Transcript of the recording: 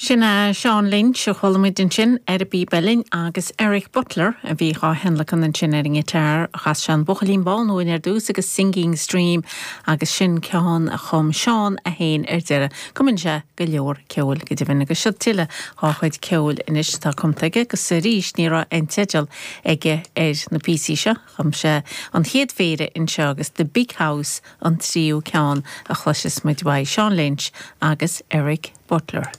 Sin é Seán Lynch a chuala muid ansin ar an bpíb uilleann agus Eric Butler a bhí dhá thionlacan ansin ar an ngiotár. Chas sé an Buachaillín Bán uainn ar dtús agus Singing Stream agus sin ceann a chum Seán é féin ar deireadh. Cumann sé go leor ceoil go deimhin agus seo tuilleadh dhá chuid ceoil anois atá cumtha aige agus arís ní raibh aon teideal aige ar na píosaí seo. Chum sé an chéad phéire anseo agus The Big House an tríú ceann a chloisfeas muid uaidh, Seán Lynch agus Eric Butler.